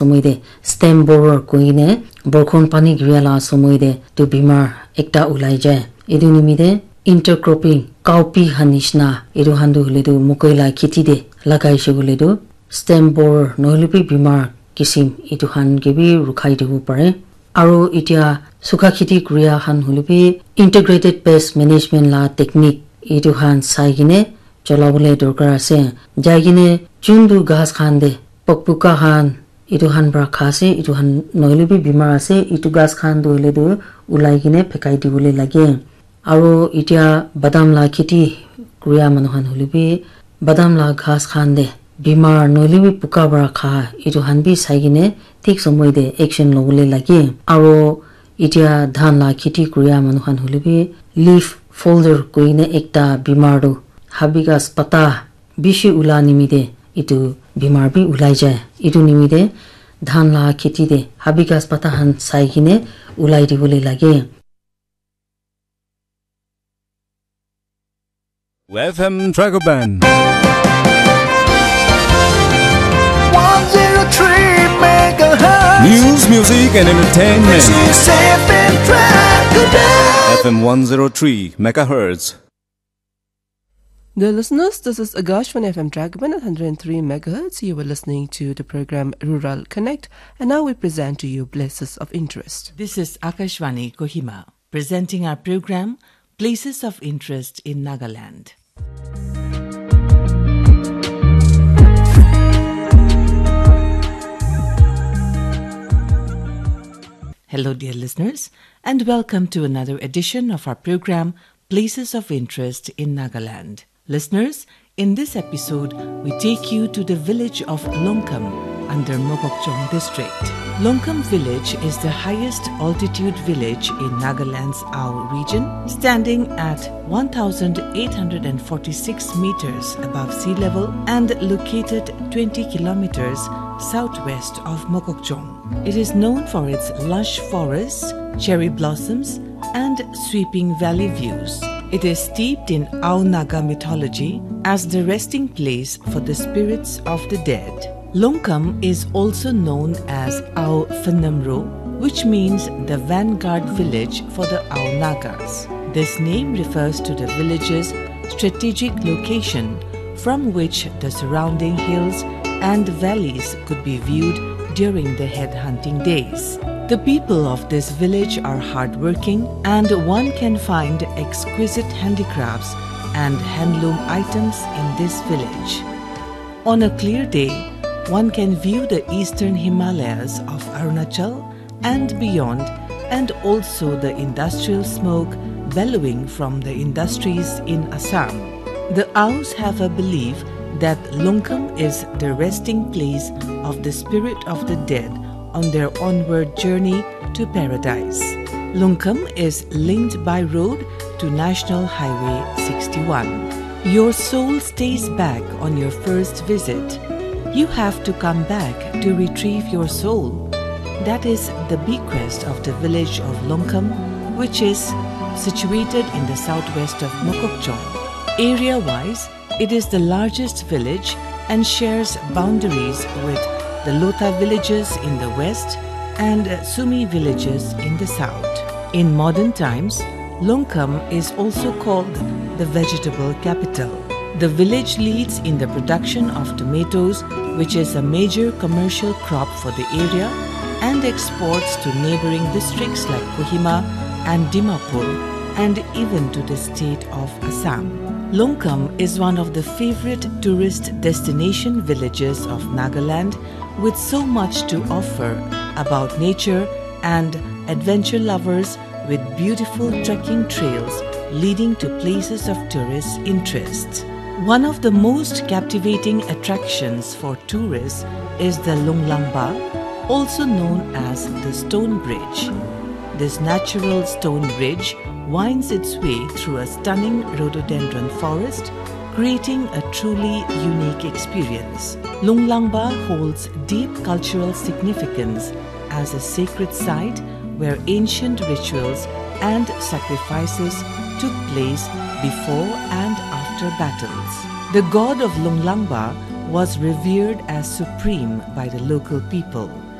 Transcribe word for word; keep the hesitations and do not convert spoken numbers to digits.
somoi te stem borer koine borkhon pani giria la somoi te tu bimar ekta ulai jai. Etu nimite intercropping, cowpea khan nishina, etu khan tu hoile tu mokoi la kheti te lagai she koile tu stem borer nohoile bi bimar kisim etu khan ke bi rukhai dibo pare. Aro etia sukha kheti kuria khan hoile bi integrated pest management la technique etu khan sai kene cholabole dorkar ase. Jai kene juntu ghas khan te pokpuka khan etu khan para kha ase, etu khan nohoile bi bimar ase, etu ghas khan tu hoile tu ulai kene phekai dibole lage. Aro etia badam la kheti kuria manu khan hoile bi badam la ghas khan te bimar nohoile bi puka para kha etu khan bi sai kene thik somoi te action lobole lage. Aro etia dhan la kheti kuria manu khan hoile bi leaf folder koine ekta bimar tu habigas pata bishi ula nimite etu bimar bi ulai jai. Etu nimite dhan la kheti te habigas pata khan sai kene ulai dibole lage. F M Dragoban. One zero three megahertz. News, music, and entertainment. This is F M Dragoban. F M one zero three megahertz. Dear listeners, this is Akashvani F M Dragoban at hundred and three megahertz. You were listening to the program Rural Connect, and now we present to you Places of Interest. This is Akashvani Kohima, presenting our program Places of Interest in Nagaland. Hello, dear listeners, and welcome to another edition of our program, Places of Interest in Nagaland. Listeners, in this episode, we take you to the village of Longkam under Mokokchung district. Longkam village is the highest altitude village in Nagaland's Ao region, standing at one thousand eight hundred and forty-six meters above sea level and located twenty kilometers southwest of Mokokchung. It is known for its lush forests, cherry blossoms, and sweeping valley views. It is steeped in Ao Naga mythology as the resting place for the spirits of the dead. Longkam is also known as Ao Phanamro, which means the vanguard village for the Ao Nagas. This name refers to the village's strategic location, from which the surrounding hills and valleys could be viewed during the head hunting days. The people of this village are hardworking, and one can find exquisite handicrafts and handloom items in this village. On a clear day, one can view the eastern Himalayas of Arunachal and beyond, and also the industrial smoke bellowing from the industries in Assam. The Aos have a belief that Longkam is the resting place of the spirit of the dead on their onward journey to paradise. Longkam is linked by road to National Highway sixty-one. Your soul stays back on your first visit. You have to come back to retrieve your soul. That is the bequest of the village of Longkam, which is situated in the southwest of Mokokchung. Area-wise, it is the largest village and shares boundaries with the Lotha villages in the west and Sumi villages in the south. In modern times, Longkam is also called the vegetable capital. The village leads in the production of tomatoes, which is a major commercial crop for the area, and exports to neighboring districts like Kohima and Dimapur, and even to the state of Assam. Longkam is one of the favorite tourist destination villages of Nagaland, with so much to offer about nature and adventure lovers with beautiful trekking trails leading to places of tourist interest. One of the most captivating attractions for tourists is the Lunglangba, also known as the Stone Bridge. This natural stone bridge winds its way through a stunning rhododendron forest, creating a truly unique experience. Lunglangba holds deep cultural significance as a sacred site where ancient rituals and sacrifices took place before and after battles. The god of Lunglangba was revered as supreme by the local people.